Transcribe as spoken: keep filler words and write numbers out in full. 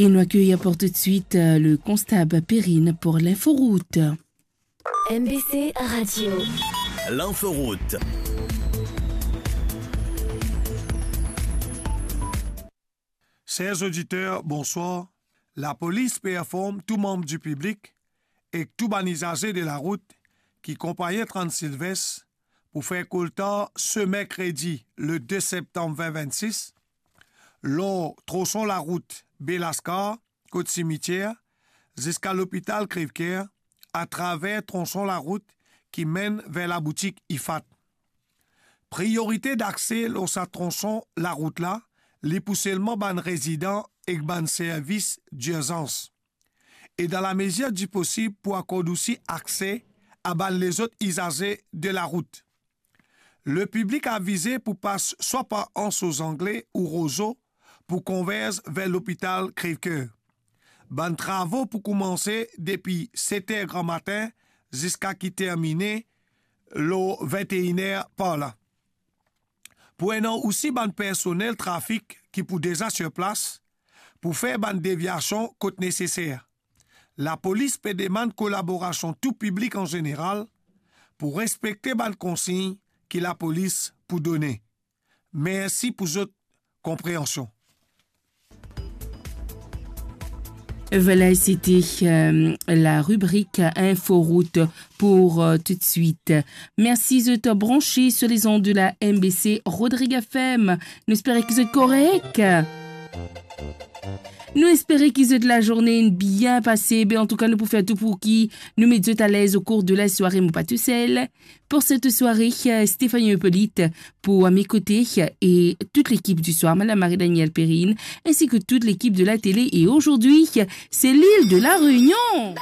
Et nous accueillons pour tout de suite, euh, le constable Perrine pour l'inforoute. M B C Radio. L'inforoute. Chers auditeurs, bonsoir. Lapolis pe inform tou manm di piblik ek tou bann izaze de larout ki konpagn Transilvès pou fer koltar se merkredi, le de septanm vin vinn sis, lor tronson larout Belaskar, kot simitier, ziska lopital Crèvecoeur, atraver tronson larout ki menn ver laboutik Ifat. Priorite dakse lor sa tronson larout la, li pou selman bann rezidan ek bann servis dirzans. E dan lamezir di posib pou akord osi akse a bann lezot izaze de larout. Lepiblik avize pou pas swa par Anse aux Anglais ou Roseau pou konverz ver lopital Crèvecoeur. Bann travo pou koumanse depi set er gramatin ziska ki termine lor vinte et une er par la. Pou ena osi bann personel trafik ki pou deza sir plas pou fer bann devyasion kot neseser. Lapolis pe demann kolaborasion tou piblik an zeneral pou respekte bann konsign ki lapolis pou done. Mersi pou zot konpreansion. Voilà, c'était, euh, la rubrique Inforoute pour, euh, tout de suite. Merci de te brancher sur les ondes de la M B C Rodrigue F M. Nou espere ki zot korek. Nou espere ki zot lazourne inn bien pase. Ben, antouka, nou pou fer tou pou ki nou met zot alez au cours de la soirée, mo pa tousel. Pour cette soirée, euh, Stéphanie Hippolyte pour, euh, mes côtés, euh, et toute l'équipe du soir, Madame Marie-Danielle Perrine, ainsi que toute l'équipe de la télé. Et aujourd'hui, euh, c'est l'île de la Réunion.